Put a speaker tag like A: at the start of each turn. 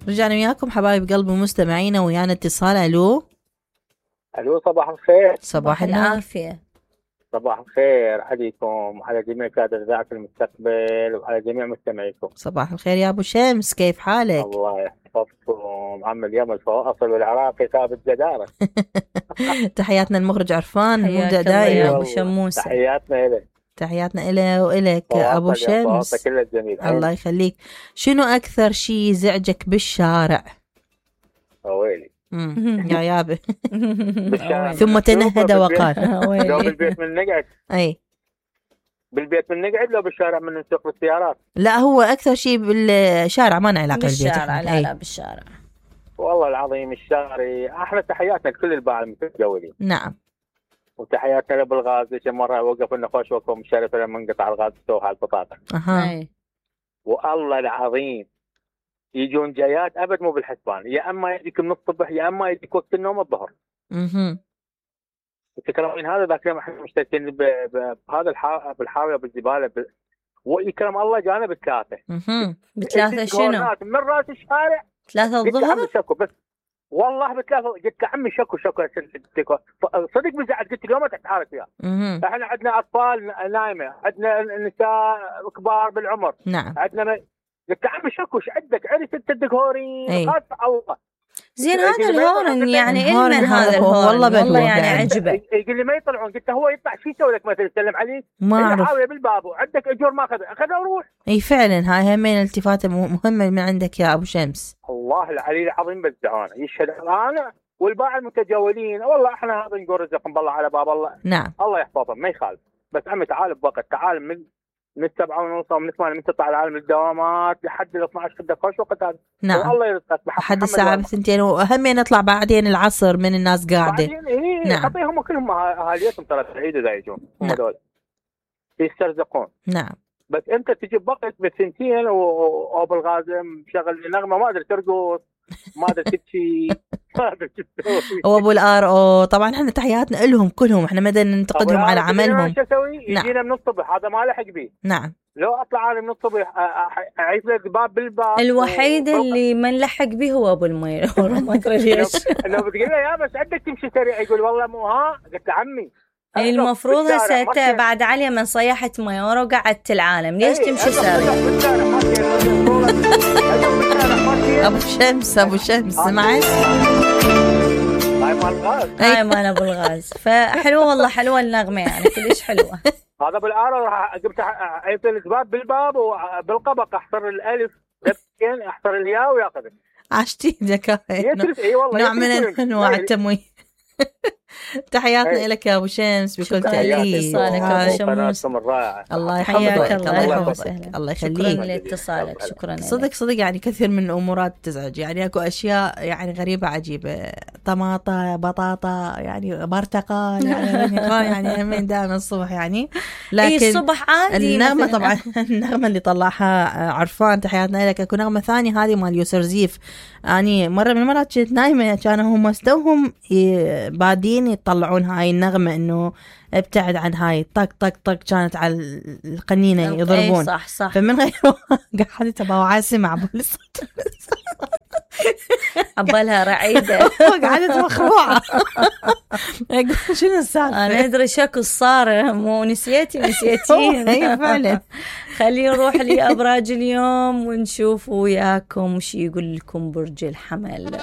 A: رجعنا وياكم حبايب قلبي مستمعينا، ويانا اتصال. الو
B: صباح الخير.
A: صباح
C: العافية.
B: صباح الخير عليكم وعلى جميع كادر إذاعة المستقبل وعلى جميع مستمعيكم.
A: صباح الخير يا ابو شمس، كيف حالك؟
B: الله يحفظكم. عم اليوم الفواصل والعراقي ثابت جدارة.
A: تحياتنا المخرج عرفان
C: حياك
A: مبدع
C: الله يا
A: دائما.
C: ابو شموسة.
B: تحياتنا إليه.
A: تحياتنا إله وإلك ابو شمس.
B: كله جميل.
A: الله يخليك. شنو اكثر شيء يزعجك بالشارع؟
B: ويلي
A: يا يابا.
B: بالشارع.
A: ثم تنهد وقال
B: لو بالبيت من نقعد.
A: اي
B: بالبيت من نقعد، لو بالشارع من نسوق بالسيارات.
A: لا هو اكثر شيء بالشارع، ما له علاقه بالبيت.
C: بالشارع لا بالشارع.
B: والله العظيم الشارع. احنا تحياتنا لكل الباعة المتجولين.
A: نعم.
B: وتحياتنا لابو الغاز. مرة وقف لنا خوش وقفه مشرف لما انقطع الغاز سوها البطاطا.
A: اها.
B: والله العظيم يجون جايات ابد مو بالحسبان، يا اما يجيك من الصبح يا اما يجيك وقت النوم الظهر. تكلمين هذا ذاك اليوم احنا مشتركين بهذا بالحاويه بالزباله ويكرم الله جانا بالثلاثه.
C: بثلاثه شنو؟
B: من راس الشارع
C: 3 الظهر.
B: بس والله بثلاثه قلت عمي شكو صدق بزعل. قلت له ما تتحارك فيها. احنا عندنا اطفال نايمه، عندنا نساء كبار بالعمر.
A: نعم.
B: عندنا قلت عمي شكو ايش عندك؟ عرفت انت الدكوري خاص الله.
C: زين هذا الهورن يعني
A: الهورن
C: هذا الهورن والله يعني عجبه.
B: يقول لي ما يطلعون. قلت هو يطلع شو يسوي لك مثلا يسلم عليك؟
A: ما اعرف.
B: حاويه بالباب وعندك اجور ما اخذها وروح.
A: اي فعلا هاي همين التفاته مهمه من عندك يا ابو شمس.
B: الله العلي العظيم بالدعانه يشهد انا والباعة المتجولين. والله احنا هذا نقول رزقهم بالله على باب الله.
A: نعم.
B: الله يحفظهم ما يخالف. بس عمي تعال بوقت، تعال من 7:30 ومن 8 من تطلع العالم الدوامات لحد 12 كده خوش وقت هذا.
A: نعم.
B: الله يرزقك
A: لحد الساعة 2 وأهم نطلع بعدين العصر من الناس قاعدة.
B: نعم. خطيهم كلهم اهاليتهم ترى بعيد اذا يجون هم دول يسترزقون.
A: نعم.
B: بس انت تجي بوقت بالثنتين وبالغاز مشغل نغمه ما ادري ترقص ما ادري تبكي ما ادري تسوي.
A: وابو الار طبعا احنا تحياتنا لهم كلهم، احنا ما ننتقدهم على عملهم.
B: شو اسوي؟ يجينا من الصبح هذا ما لحق بيه.
A: نعم.
B: لو اطلع انا من الصبح اعيد لك باب بالباب.
C: الوحيد اللي ما نلحق به هو ابو المير. ما ادري ليش.
B: لو بتقول له يا بس عندك تمشي سريع يقول والله مو قلت له عمي
C: المفروض هسه بعد عليا من صيحت ميورو وقعدت العالم ليش تمشي سريع؟
A: ابو شمس سمعت؟
B: هاي
C: مال ابو الغاز. فحلوه والله حلوه النغمه يعني كلش حلوه.
B: هذا بالعاره راح جبت عيبت الاسباب بالباب وبالقبق احصر الالف احصر الياء وياخذ.
A: عشتي ذكاء. نوع من انواع التمويه. تحياتنا لك يا ابو شمس بكل تأكيد. الله يحفظك. الله يحفظك. الله يخليك.
C: شكرا لاتصالك. شكرا.
A: صدق يعني كثير من الامورات تزعج، يعني اكو اشياء يعني غريبه عجيبه، طماطه بطاطا يعني برتقال يعني همين دائما الصبح يعني. لكن
C: الصبح عادي.
A: النغمه طبعا النغمه اللي طلعها عرفان تحياتنا لك. اكو نغمه ثانيه هذه مال يوسر زيف. اني مره من المرات كنت نايمه كانوا هم استوهم بادين يطلعون هاي النغمة انه ابتعد عن هاي طق طق طق، كانت على القنينة يضربون.
C: صح.
A: فمن غير قاعدة بوعى سمع بالصوت
C: عبالها رعيدة
A: قاعدة مخروعة. شنو السالفة؟
C: انا ادري شكو صار مو نسيتي.
A: اي فعلا.
C: خلينا نروح لأبراج اليوم ونشوف وياكم شي يقول لكم برج الحمل.